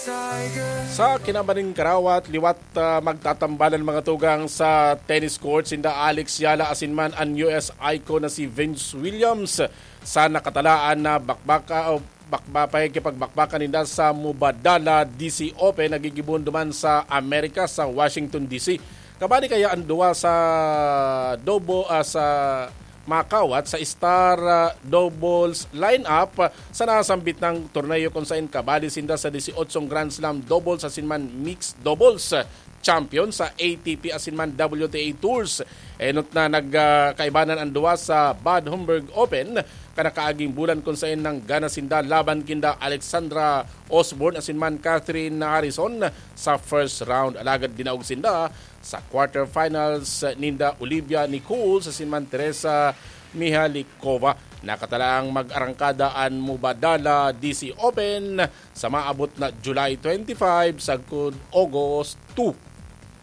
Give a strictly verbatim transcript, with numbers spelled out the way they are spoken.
Sa kinaban nin karawat, liwat ah, magtatambalan mga tugang sa tennis court sinda Alex Yala asin man an U S icon na si Venus Williams sa nakatalaan na bakbaka o bakba, pakikipagbakbakan ninda sa Mubadala D C Open na gigibohon duman sa Amerika sa Washington D C. Kabali kaya an duwa sa double ah, sa makawat sa star ah, doubles lineup ah, sa nasambit na torneo kung sain kabali sinda sa dieciocho Grand Slam doubles asin man mixed doubles ah, champion sa A T P asin man W T A Tours. Enot na nagkaibanan an duwa sa Bad Homburg Open kan nakaaging bulan, kung sain nanggana sinda laban kinda Alexandra Osborne asin man Catherine Harrison sa first round. Alagad dinaog sinda sa quarterfinals ninda Olivia Nichols asin man Teresa Mihalikova. Nakatalang mag-arangkada an Mubadala D C Open sa maabot na July twenty-five sagkod August two.